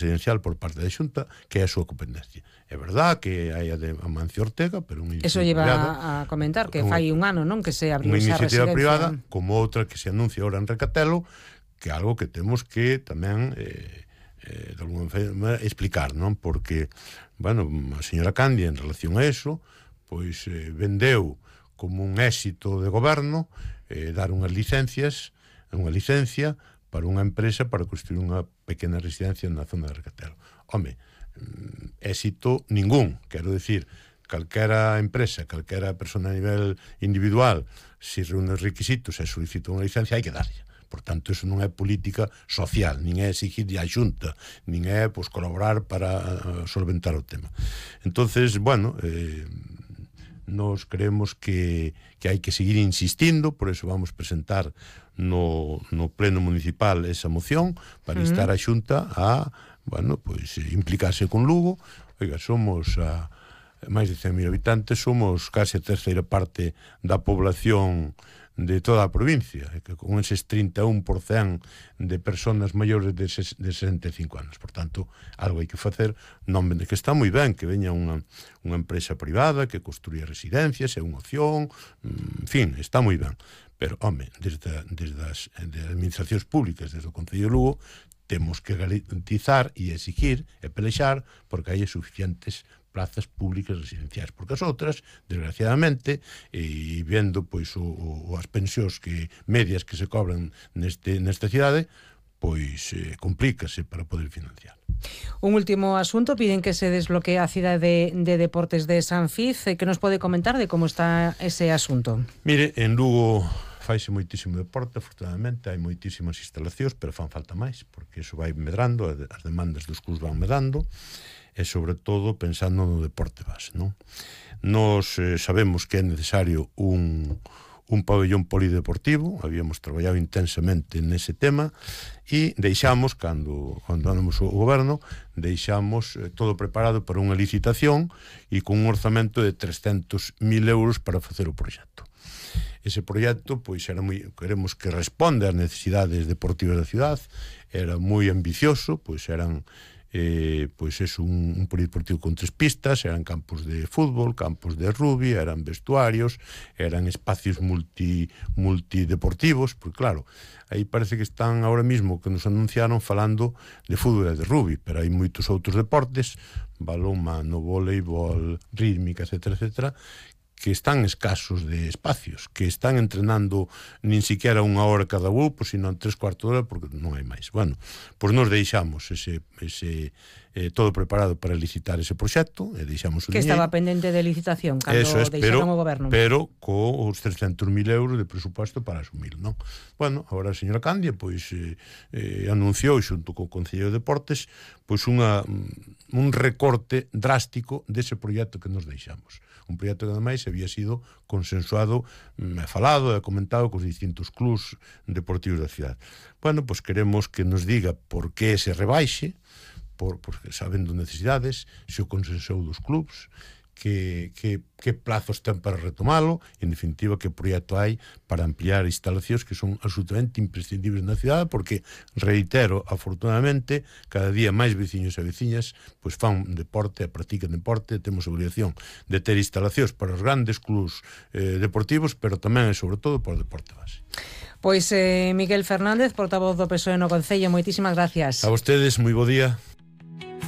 presidencial por parte da Xunta, que é a súa competencia. É verdad que hai a de Amancio Ortega, pero unha Eso iniciativa privada, lleva a comentar que fai un ano, non, que se abriu unha esa iniciativa residencia privada, como outra que se anuncia ahora en Recatelo, que é algo que temos que tamén de alguma forma explicar, non? Porque, bueno, a señora Candia en relación a eso, pois vendeu como un éxito de goberno dar unha licencia para unha empresa para construir unha pequena residencia na zona de Recatelo. Home, éxito ningún, quero decir, calquera empresa, calquera persona a nivel individual, se reúne os requisitos e solicita unha licencia, hai que darlle. Por tanto, eso non é política social, nin é exigirlle a Xunta, nin é colaborar para solventar o tema. Entonces, bueno, nos creemos que hai que seguir insistindo, por eso vamos presentar no pleno municipal esa moción para instar a Xunta a, bueno, pois implicarse con Lugo. Oiga, somos máis de 100.000 habitantes, somos case a terceira parte da población de toda a provincia, que con eses 31% de personas maiores de 65 anos. Por tanto, algo hai que facer, non vende que está moi ben que veña unha empresa privada que construía residencias, é unha opción, en fin, está moi ben. Pero, home, desde as administracións públicas, desde o Concello de Lugo, temos que garantizar e exigir e pelexar porque hai suficientes plazas públicas residenciais, porque as outras, desgraciadamente, e vendo pois as pensións medias que se cobran nesta cidade, pois complícase para poder financiar. Un último asunto, piden que se desbloquee a cidade de deportes de San Fiz. Que nos pode comentar de como está ese asunto? Mire, en Lugo faise moitísimo deporte, afortunadamente, hai moitísimas instalacións, pero fan falta máis, porque iso vai medrando, as demandas dos clubs van medrando, e sobre todo pensando no deporte base, non? Nos sabemos que é necesario un pabellón polideportivo, habíamos traballado intensamente nese tema e deixamos, cando andamos o goberno, deixamos todo preparado para unha licitación e con un orzamento de 300.000 euros para facer o proxecto. Ese proxecto, pois, queremos que responde ás necesidades deportivas da cidade, era moi ambicioso, pois eran un polideportivo con 3 pistas, eran campos de fútbol, campos de rugby, eran vestuarios, eran espacios multideportivos, porque claro, aí parece que están ahora mismo que nos anunciaron falando de fútbol e de rugby, pero hai moitos outros deportes, balón mano, voleibol, rítmica, etcétera, que están escasos de espacios, que están entrenando nin siquiera 1 hora cada grupo, sino en 3/4 hora, porque non hai máis. Bueno, pois nos deixamos todo preparado para licitar ese proxecto, e deixamos o que diñeiro. Estaba pendente de licitación cando deixaron o goberno. Pero cos 300.000 euros de presupuesto para asumir, non? Bueno, agora a señora Candia, pois, anunciou, xunto co Concello de Deportes, pois un recorte drástico dese proxecto que nos deixamos. Un proxecto que ademais había sido consensuado, falado e comentado cos distintos clubs deportivos da cidade. Bueno, pois queremos que nos diga por que se rebaixe, porque sabendo necesidades, se o consensou dos clubs, que plazos ten para retomalo, en definitiva, que proxecto hai para ampliar instalacións que son absolutamente imprescindibles na cidade, porque, reitero, afortunadamente, cada día máis veciños e veciñas pois fan deporte, practican deporte, temos obrigación de ter instalacións para os grandes clubs deportivos, pero tamén e sobre todo para o deporte base. Pois Miguel Fernández, portavoz do PSOE no Concello, moitísimas gracias. A vostedes, moi bo día.